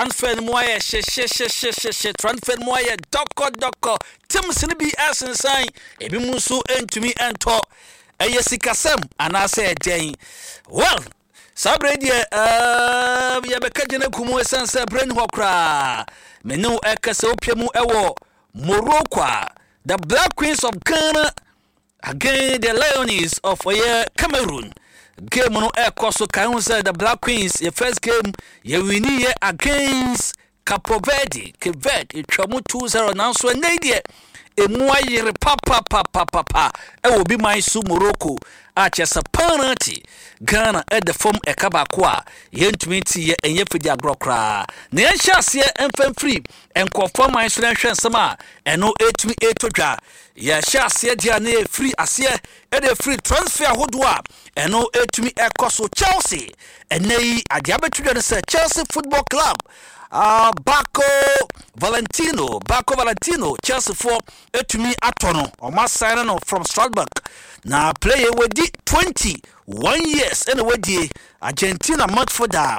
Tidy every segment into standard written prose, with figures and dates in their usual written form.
Transfer no mu ayɛ hyehyehyehyehyehye, transfer no mu ayɛ dɔkɔdɔkɔ. Teams no bi asensan, ebinom nso ntumi ntɔ. Ɛyɛ sikasɛm anaasɛ ɛdɛn? Well, saa berɛ deɛ uh, yɛbɛka gyina ku mu ɛsiane sɛ berɛ ni hɔ koraa. Me ne wo ɛkasa wopia mu ɛwɔ Morocco a the Black Queens of Ghana Again the Liones of ɔyɛ Cameroon game no ɛkɔ so kan ho sɛ the Black Queens yɛ first game yɛ wini yɛ against Capo Verde Cape Verde etwa mu 2-0 nanso ɛnɛ yi deɛ emu ayere papapapapa ɛwɔ bi man so Morocco a kyerɛ sɛ penalty Ghana ɛda fam ɛka baako a yɛntumi nti yɛ ɛnyɛ fidi agorɔ koraa na yɛnhyɛ aseɛ mfɛmfiri nkurɔfoɔ man so na nhwɛ nsɛm a ɛno ɛtumi ɛtɔ dwa. Yɛhyɛ aseɛ deɛ a na yɛfiri aseɛ ɛde firi transfer ahodoɔ a ɛno ɛtumi ɛkɔ so. Chelsea ɛnɛ yi adeɛ abɛto dwa no sɛ Chelsea Football Club Barco Valentino, Barco Valentino, Chelsea foɔ ɛtumi atɔ no, ɔmo asan no from Strasbourg na player wadi 21 years ɛna wadie Argentina midfielder.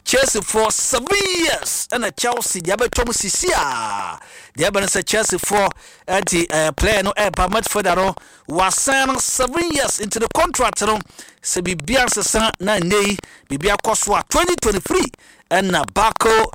Chelsea for 7 years ɛna Chelsea deɛ abɛtɔ mu sisi a deɛ ɛbɛn sɛ Chelsea foɔ ɛde player no ɛba, midfielder no wasan no 7 years into the contract no sɛ biribi ansesa na nne yi biribi akɔ so a 2023 ɛna Barco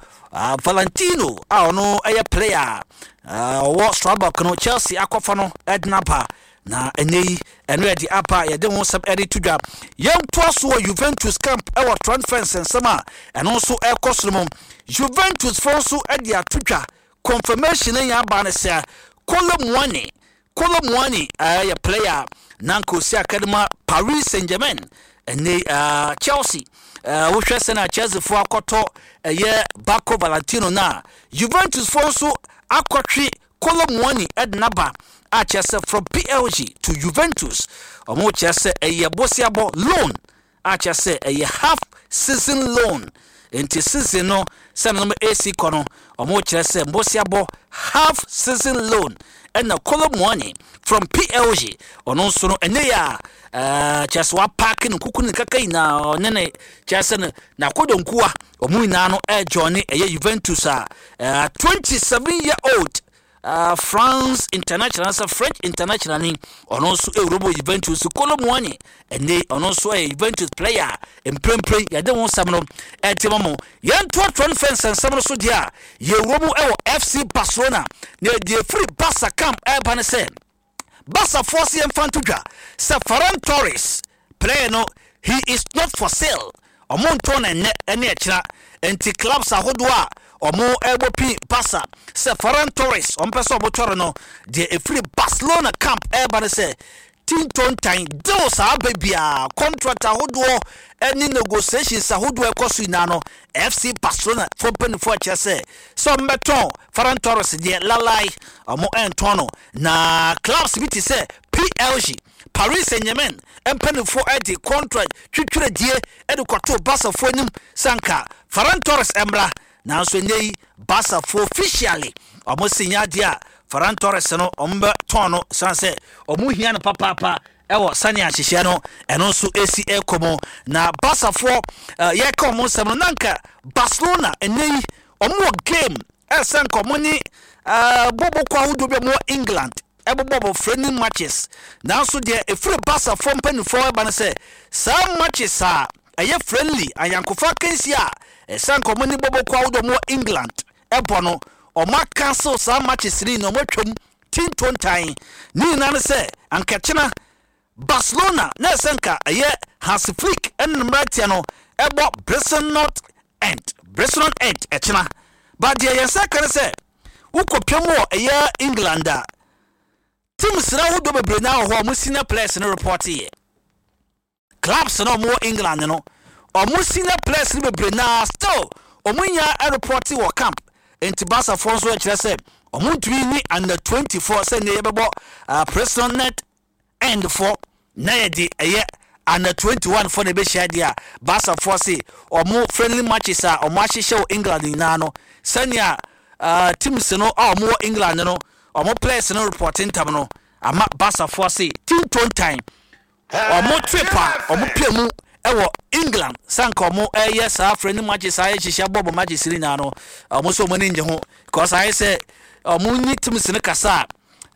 Valentino a ɔno ɛyɛ player ɔwɔ Strasbourg no Chelsea akɔfa no ɛde n'aba na ɛnɛ yi ɛno yɛde aba yɛde ho nsɛm ɛde to dwa. Yɛntoa so wɔ Juventus camp ɛwɔ transfer nsɛnsɛm a ɛno nso ɛkɔ soro mu. Juventus foɔ nso ɛde ato dwa, confirmation yɛn aba no sɛ Kolo Muani, Kolo Muani ɛyɛ player na nka osi akadema Paris Saint Germain. Ɛnɛ Chelsea wohwɛ sɛ na Chelsea foɔ akɔtɔ ɛyɛ Barco Valentino na Juventus foɔ nso akɔtwe Kolo Muani ɛde n'aba a kyerɛ sɛ from PSG to Juventus ɔmo kyerɛ sɛ ɛyɛ bosiabɔ loan a kyerɛ sɛ ɛyɛ half season loan, nti season no sɛ no AC kɔ no ɔmo kyerɛ sɛ mbosiabɔ half season loan ɛna Kolo Muani from PSG ɔno nso no ɛnɛ yɛ a kyerɛ sɛ wapaake ne kuku ne kaka nyinaa ɔne ne kyerɛ sɛ no n'akodonkuwa ɔmo nyinaa no ɛɛjoin ɛyɛ Juventus a 27 year old France international sɛ French international ni ɔno nso ɛwura Juventus. Kolo Muani ɛnɛ ɔno nso ɛyɛ Juventus player mprempren yɛde ho nsɛm no ɛte ma mo. Yɛntoatoa no fɛ nsɛnsɛm no so deɛ a yɛwura mu ɛwɔ FC Barcelona na deɛ firi Barca camp ɛreba ne sɛ Barcafoɔ se yɛmfa nto dwa sɛ Ferran Torres player no, he is not for sale. Ɔmo ntɔn na ɛnɛ ɛne ɛkyina nti clubs ahodoɔ a ɔmo ɛbɔ pin Barca sɛ Ferran Torres ɔmo pɛ sɛ ɔmo tɔre no, deɛ efiri Barcelona camp ɛreba ne sɛ tintontan deals a aba biara, contract ahodoɔ ɛne negotiations ahodoɔ ɛkɔ so nyinaa no, FC Barcelona fo mpanimfoɔ kyerɛ sɛ ɔmo bɛtɔn Ferran Torres deɛ lalai, ɔmo ɛntɔn no. Na clubs bi te sɛ PSG, Paris Saint Germain mpanimfoɔ ɛde contract twitwiredie ɛde kɔto Barcafoɔ anim sanka Ferran Torres mmra, nanso ɛnɛ yi Barcafoɔ officially ɔmo si nyɛ adeɛ a Ferran Torres no ɔmo bɛtɔn no san sɛ ɔmo hia no papaapa ɛwɔ sani ahyehyɛ no ɛno nso esi ɛkɔ mu. Na Barcafoɔ yɛka ɔmo nsɛm no nanka Barcelona ɛnɛ yi ɔmo wɔ game ɛsɛ nka ɔmo ne bɔbɔ kɔ ahodoɔ bi a ɔmo wɔ England ɛbobɔbɔ friendly matches, nanso deɛ efiri Barcafoɔ mpanimfoɔ ɛba no sɛ saa matches a ɛyɛ friendly ayankofa akansi a ɛsɛ nka ɔmo ne bɔbɔ kɔ ahodoɔ ɔmo wɔ England ɛbɔ no, ɔmo acancel saa matches ni na ɔmo atwam tintontan ne nyinaa no sɛ ankakyena Barcelona na ɛsɛ nka ɛyɛ Hansi Flick ɛne ne mmeranteɛ no ɛbɔ Preston North End, Preston End ɛkyena, but deɛ yɛn nsa ka no sɛ wokɔpem wɔ ɛyɛ England a teams na ahodoɔ bebree naa wɔ hɔ a ɔmo senior players no report yɛ clubs na ɔmo wɔ England no, ɔmo senior players no bebree naa still ɔmo nya report wɔ camp, nti Barcafoɔ nso kyerɛ sɛ ɔmo ntumi ni under 24 sɛ ne yɛbɛbɔ Preston North End foɔ na yɛde ɛyɛ under 21 foɔ na ɛbɛhyia deɛ a Barcafoɔ se ɔmo friendly matches a ɔmo ahyehyɛ wɔ England nyinaa no, sɛnea teams no a ɔmo wɔ England no ɔmo players no report ntam no ama Barcafoɔ se tintontan ɔmo trip a ɔmo pie mu. Ɛwɔ England sanka ɔmo ɛyɛ saa friendly matches ayɛ hyehyɛ bɔɔbɔ matches ne nyinaa no, ɔmo nso ɔmo ani ngye ho because ayɛ sɛ ɔmo nyi teams ne kasa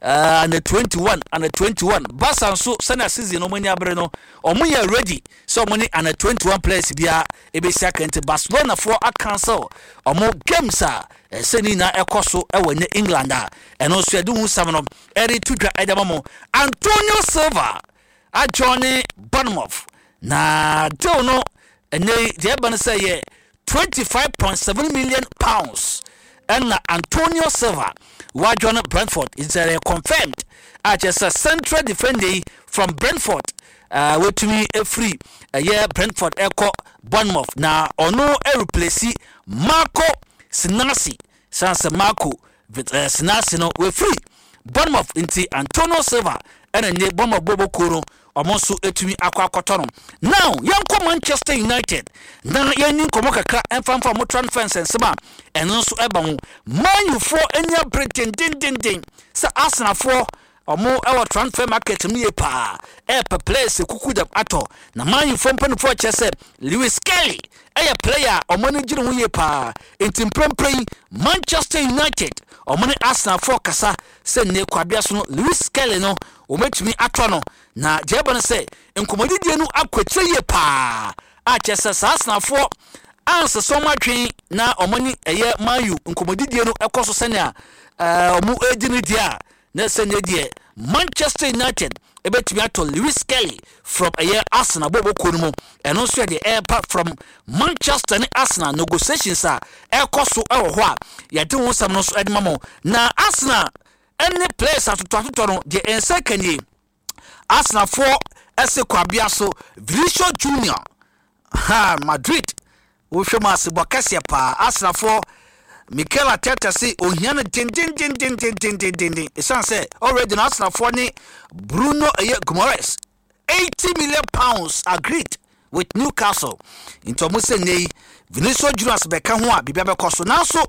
a under 21, under 21. Barca nso, sɛnea season no ɔmo ani abere no, ɔmo yɛ ready sɛ ɔmo ne under 21 players biara ebesi aka. Nti Barcelona foɔ acancel ɔmo games a ɛsɛ ne nyinaa ɛkɔ so ɛwɔ ne England a ɛno nso yɛde ho sam no ɛde to dwa ɛde ama mo. Antonio Silva ajoin Bournemouth na deal no ɛnɛ deɛ ɛba no sɛ yɛ £25.7 million ɛna Antonio Silva wajoin Brentford. It's confirmed a kyerɛ sɛ central defender yi from Brentford watumi efiri ɛyɛ Brentford ɛkɔ Bournemouth na ɔno ɛreplace Marco Senesi. San sɛ Marco Senesi no wafiri Bournemouth, nti Antonio Silva ɛna nye Bournemouth bɔbɔ kuo no, ɔmo nso etumi akɔ akɔtɔ no. Now yɛnkɔ Manchester United na yɛnni nkɔmɔ kakra ɛmfamfa ɔmo transfer nsɛnsɛm a ɛno nso ɛba ho. Man Ufoɔ ani abere dendendenden sɛ Arsenalfoɔ ɔmo ɛwɔ transfer market mu yie paa, ɛɛpɛ players kuku dɛm atɔ. Na Man Ufoɔ mpanimfoɔ kyerɛ sɛ Lewis Skelly ɛyɛ player a ɔmo ani gyina ho yie paa, nti mprempren yi Manchester United ɔmo ne Arsenalfoɔ kasa sɛ nne kwabea so no Lewis Skelly no wɔmɛtumi atɔ no. Na deɛ ɛba no sɛ nkɔmmɔdidie no akɔ akyire yie paa a kyerɛ sɛ saa Arsenalfoɔ ansesa ɔmo atwe na ɔmo ne ɛyɛ Man U nkɔmmɔdidie no ɛkɔ so sɛnea ɔmo edi no deɛ a, na sɛ ne deɛ Manchester United ɛbɛtumi atɔ Lewis Skelly from ɛyɛ Arsenal bɔɔbɔ kuo no mu. Ɛno nso yɛ deɛ ɛreba from Manchester ne Arsenal negotiations a ɛrekɔ so ɛwɔ hɔ a yɛde ho nsɛm no nso ɛde ma mo. Na Arsenal ɛne players atotɔ atotɔ no deɛ, ɛnsa kanie Arsenalfoɔ ɛsɛ kwabea so Vinicius Junior ha Madrid wohwɛ mu asebɔ kɛseɛ paa. Arsenalfoɔ Mikel Arteta se ohia no dendendendendendendenden ɛsiane sɛ already no Arsenalfoɔ ne Bruno ɛyɛ Guimaraes £80 million agreed with Newcastle, nti ɔmo sɛ nne yi Vinicius Junior bɛka ho a biribi abɛkɔ so. Nanso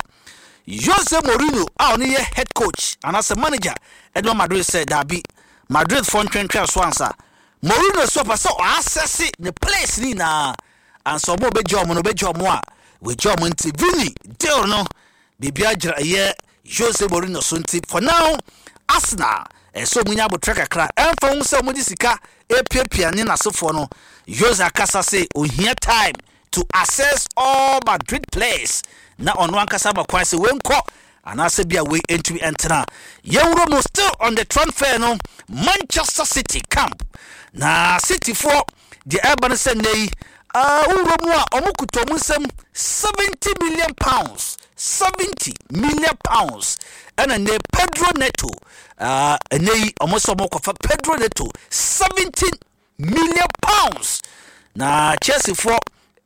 Jose Mourinho a ɔno yɛ head coach anaasɛ manager ɛde ma Madrid sɛ daabi, Madrid foɔ ntwentwɛn so ansa. Mourinho so ɔpɛ sɛ ɔasɛse ne players ne nyinaa ansa ɔmo ɔbɛgye ɔmo no, ɔbɛgye ɔmo a wɔgye ɔmo. Nti Vini deal no biribi agyina ɛyɛ Jose Mourinho so, nti for now Arsenal ɛsɛ ɔmo nya abotire kakra. Ɛmfa ho sɛ ɔmo de sika epiapia ne n'asefoɔ no, Jose akasa sɛ ohia time to assess all Madrid players na ɔno ankasa ma kwan sɛ wenkɔ anaasɛ bi a wei ntumi ntena. Yɛwuro mu still on the transfer no, Manchester City camp na Cityfoɔ deɛ ɛreba no sɛ nnɛ yi wowura mu a ɔmo kuta ɔmo nsam £70 million, £70 million ɛna nnɛ Pedro Neto, ɛnɛ yi ɔmo sɛ ɔmo kɔfa Pedro Neto, £70 million na Chelsea foɔ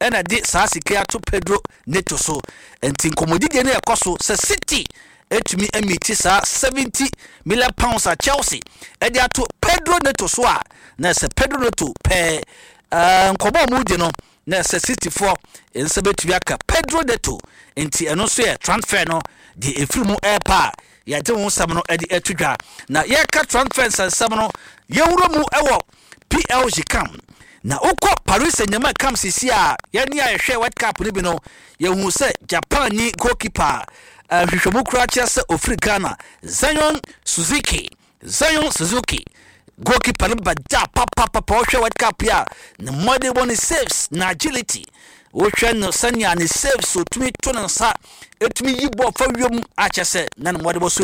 ɛna de saa sika ato Pedro Neto so. Nti nkɔmmɔdidie no ɛkɔ so sɛ City etumi emiti saa £70 million a Chelsea ɛde ato Pedro Neto so a, na ɛsɛ Pedro Neto pɛɛ nkɔmmɔ a ɔmo di no na ɛsɛ City foɔ nsa bɛtumi aka Pedro Neto. Nti ɛno nso yɛ transfer no deɛ efiri mu ɛɛpa a yɛde ho nsɛm no ɛde ɛto dwa. Na yɛka transfer nsɛnsɛm no, yɛwura mu ɛwɔ PSG camp. Na wokɔ Paris Saint-Germain camp sisi a yɛne a yɛhwɛ World Cup no bi no, yɛhu sɛ Japan ni goalkeeper a nhwehwɛmu koraa kyerɛ sɛ ofiri Ghana, Zion Suzuki. Zion Suzuki goalkeeper no bɛda papapapa. Wohwɛ World Cup yi a, ne mmɔde bɔ ne saves na agility, wohwɛ no sɛnea ne saves otumi to ne nsa, etumi yi bɔɔl fa wiem akyɛ sɛ na ne mmɔde bɔ so.